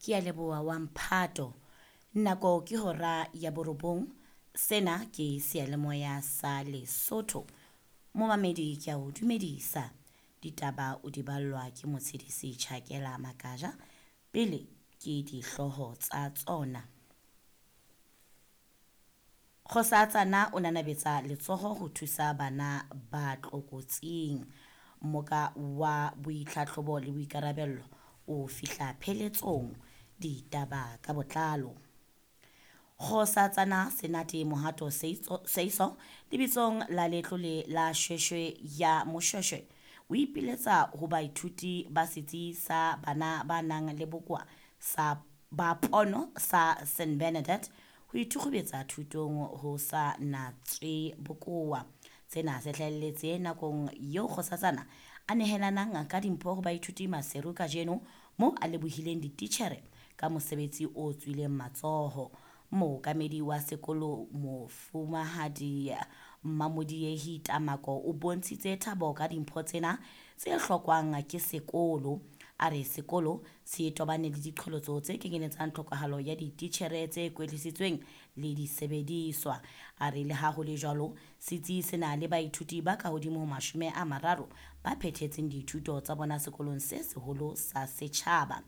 Ke a leboha wa mphato. Nako ke hora ya borobong. Sena ke seyalemoya sa Lesotho. Momamedi ke a o dumedisa. Ditaba o di ballwa ke Motshedisi Tjhakela Makaja. Pele ke dihlooho tsa tsona. Kgosatsana o nanabetsa letsoho ho thusa bana ba tlokotsing. Mmoka wa boitlhatlhobo le boikarabello o fihla pheletsong. Ditaba ka botlalo. Kgosatsana Senate Mohato Seiso lebitsong la letlole la Shweshwe ya Moshweshwe o ipiletsa ho baithuti ba setsi sa bana ba nang le bokowa sa ba pono sa St Bernadette ho ithukgubetsa thutong ho sa natswe bokowa. Sena se hlahelletse nakong eo Kgosatsana a nehelanang ka dimpho ho baithuti Maseru kajeno moo a lebohileng dititjhere ka mosebetsi o tswileng matsoho. Mookamedi wa sekolo Mofumahadi Mmamodiehi Tamako o bontshitse thabo ka dimpho tsena tse hlokwang ke sekolo. A re sekolo se tobane le diqholotso tse kenyeletsang tlhokahalo ya dititjhere tse kwetlisitsweng le disebediswa. A re le ha ho le jwalo, setsi se na le baithuti ba ka hodimo ho 30 ba phethetseng dithuto tsa bona sekolong se seholo sa setjhaba.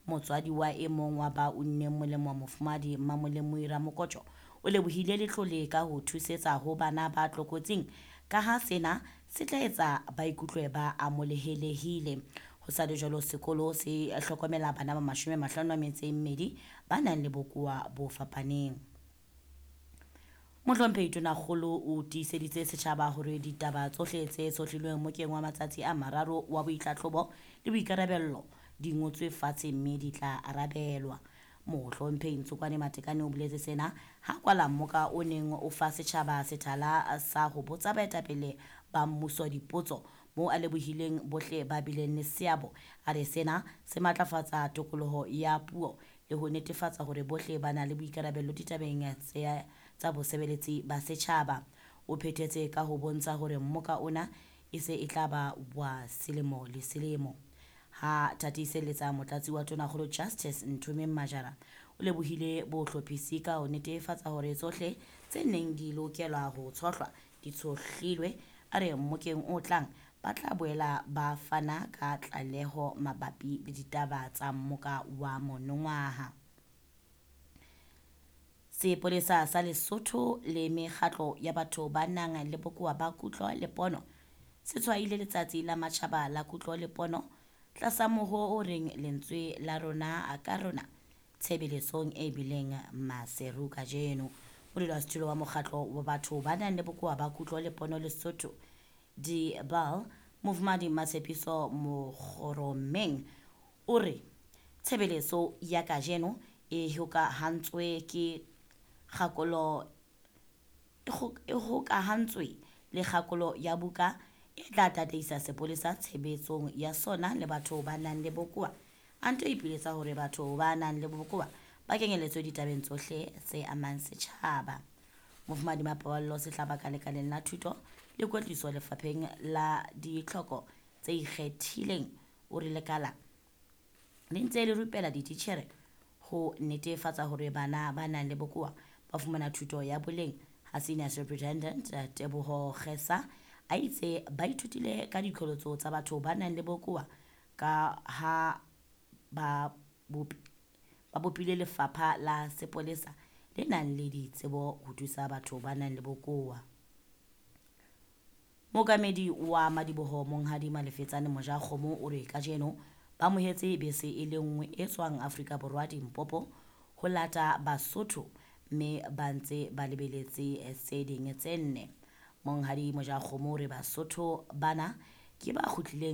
Motswadi wa e mong wa ba unneng molemo Mofumahadi Mmamolemoi Ramokotjo o lebohile letlole ka ho thusetsa ho bana ba tlokotsing ka ha sena se tla etsa ba ikutlwe ba amohelehile. Ho sa le jwalo sekolo se hlokomela bana ba 52 ba nang le bokowa bo fapaneng. Mohlomphehi Tonakgolo o tiiseditse setjhaba hore ditaba tsohle tse tshohlilweng mokeng wa matsatsi a mararo wa boitlhatlhobo le boikarabello di ngotswe fatshe mme di tla arabelwa. Mohlomphehi Ntsokwane Matekane o boletse sena ha kwala mmoka o neng o fa setjhaba sethala sa ho botsa baetapele ba mmuso dipotso moo a lebohileng bohle ba bileng le seabo. A re sena se matlafatsa tokoloho ya puo le ho netefatsa hore bohle ba na le boikarabello ditabeng tsa bosebeletsi ba setjhaba. O phethetse ka ho bontsha hore mmoka ona e se e tla ba wa selemo le selemo. Ha tatiselletsa motlatsi wa Tonakgolo Justice Nthomeng Majara o lebohile bohlophisi ka ho netefatsa hore tsohle tse neng di lokelwa ho tshohlwa di tshohlilwe. A re mmokeng o tlang ba tla boela ba fana ka tlaleho mabapi le ditaba tsa mmoka wa monongwaha. Sepolesa sa Lesotho le mekgatlo ya batho ba nang le bokowa ba kutlo le pono se tshwaile letsatsi la matjhaba la kutlo le pono tlasa mohoo o reng lentswe la rona ka rona tshebeletsong e bileng Maseru kajeno. Modulasetulo wa mokgatlo wa batho ba nang le bokowa ba kutlo le pono Lesotho Dibal Mofumahadi Matshepiso Mokgoromeng o re tshebeletso ya kajeno e hokahantswe ke kgakolo e hokahantswe le kgakolo ya buka e tla tataisa sepolesa tshebetsong ya sona le batho ba nang le bokowa. A nto ipiletsa hore batho ba nang le bokowa ba kenyeletswe ditabeng tsohle tse amang setjhaba. Mofumahadi Mapaballo Sehlaba ka lekaleng la thuto le kwetliso lefapheng la ditlhoko tse ikgethileng o re lekala le ntse le rupela dititjhere ho netefatsa hore bana ba nang le bokowa ba fumana thuto ya boleng. Ha Senior Superintendent Teboho Kgesa a itse ba ithutile ka diqholotso tsa batho ba nang le bokowa ka ha ba bopile lefapha la sepolesa le nang le ditsebo ho thusa batho ba nang le bokowa. Mookamedi wa madiboho Monghadi Malefetsane Mojakgomo o re kajeno ba amohetse bese e le nngwe e tswang Afrika Borwa Limpopo ho lata Basotho mme ba ntse ba lebeletse tse ding tse nne. Monghadi Mojakgomo o re Basotho bana ke ba kgutlileng